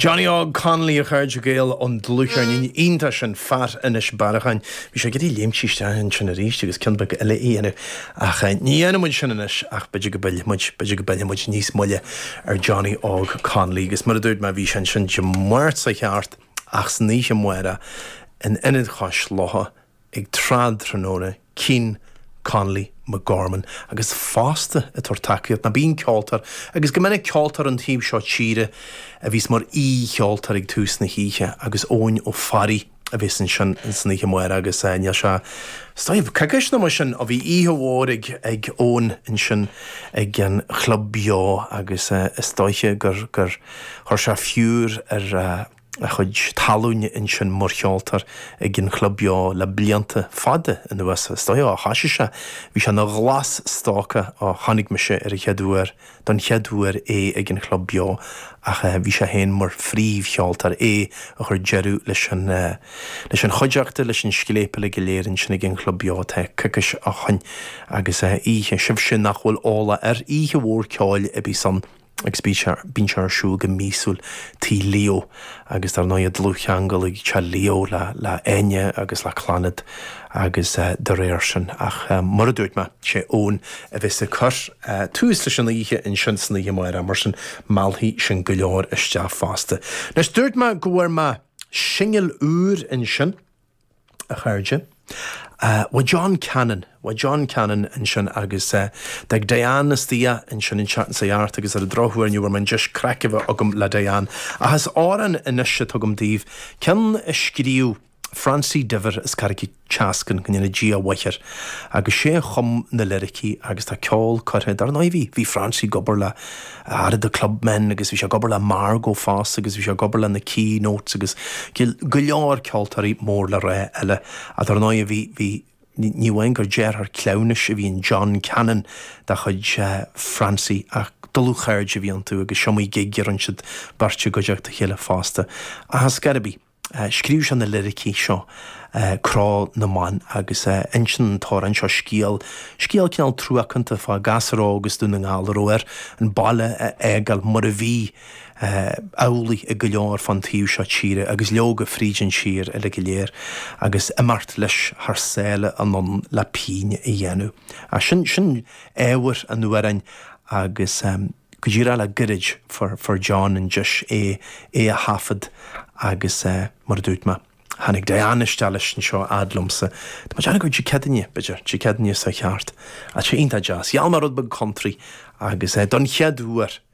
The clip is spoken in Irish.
Johnny Óg Connolly, a chairde Gael, an dlúthcheirnín iontach sin, Fear Inis Bearacháin. Bhí sé ag iarraidh léimt isteach ansin arís agus ceann beag eile a dhéanamh ach ní dhéanfaidh muid sin anois ach b'fhéidir go bpillfidh muid, b'fhéidir go bpillfidh muid níos moille ar Johnny Óg Connolly agus mar a dúirt mé bhí sé ansin Dé Máirt seo thart ach san oíche amárach in Ionad Chois Locha ag tráthnóna, Cian Connolly McGorman agus fosta ag tabhairt tacaíocht, ná bíonn ceoltóir, agus go minic ceoltóir ón taobh seo tíre a bhíos mar aoi-cheoltóir ag tús na hoíche agus Eoin Ó Fearraigh a bheas ansin san oíche amárach agus níl sé, is dóigh, coicís nó mar sin ó bhí oíche mhór ag ag Eoin ansin ag an Chlub Beo agus is dóiche gur gur chuir sé fiúr ar a chuid talúin ansin mar cheoltóir ag an Chlub Beo le blianta fada anuas. Is dóigh ó thoisigh sé, bhí sé ina ghlas-stócach ó chonaic mise ar an chéad uair, don chéad uair é ag an Chlub Beo ach bhí sé féin mar phríomhcheoltóir, é a chuir deireadh leis an leis an chuideachta, leis an scléip uilig go léir ansin ag an Chlub Beo tá coicís ó shoin agus oíche, sibhse nach bhfuil eolach air, oíche mhór ceoil a bhíos ann. agus bíonn sé ar siúl go míosúil Tigh Leo agus dar ndóigh dlúthcheangal ag Teach Leo le le Áine agus le Clannad agus de réir sin ach mar a dúirt mé sé Eoin a bheas ag cur tús leis an oíche ansin san oíche amárach mar sin meallfaidh sin go leor isteach fosta. Anois dúirt mé go bhfuair mé singil úr ansin. a chairde. Bhuel John Cannon, bhuel John Cannon ansin agus d'fhág Diane istigh ansin an tseachtain seo thart agus ar an drochuair ní bhfuair mé an deis craic a bheith agam le Diane. Ach is amhrán anois atá agam daoibh, ceann a scríobh Francie Diver as Carraig an tSeascainn, go ndéana Dia a mhaith air, agus sé a chum na liricí agus tá ceol curtha, dar ndóigh bhí, bhí Francie ag obair le Arda the Clubmen agus bhí sé ag obair le Margo fosta agus bhí sé ag obair le na Keynotes agus go leor ceoltóirí mór le rá eile. Ach dar ndóigh bhí, bhí, ní amháin gur deartháir cleamhnais a bhí in John Cannon de chuid Francie ach dlúthchairde a bhí iontu agus is iomaí gig a rinne siad beirt i gcuideachta a chéile fosta. Ach ar scor ar bith. Scríobh sé na liricí seo, Cró na mBan, agus insíonn an t-amhrán seo scéal, scéal cineál truacánta fá ghasúr óg as Dún na nGall a raibh air an baile a fhágáil mar a bhí amhlaidh ag go leor fán taobh seo tíre agus leoga fríd an tír uile go léir agus imeacht leis thar sáile anonn le pínn a dhéanamh. Sin, sin ábhar an amhráin agus. Go díreach le gairid fuair John an deis é é a thaifead agus mar a dúirt mé, tháinig Diane isteach leis anseo a fhad liomsa. Tá mé ag déanamh gur Dé Céadaoine, b'fhéidir, Dé Céadaoine seo thart. Ach sé iontach deas. Gheall mé rud beag country agus don chéad uair.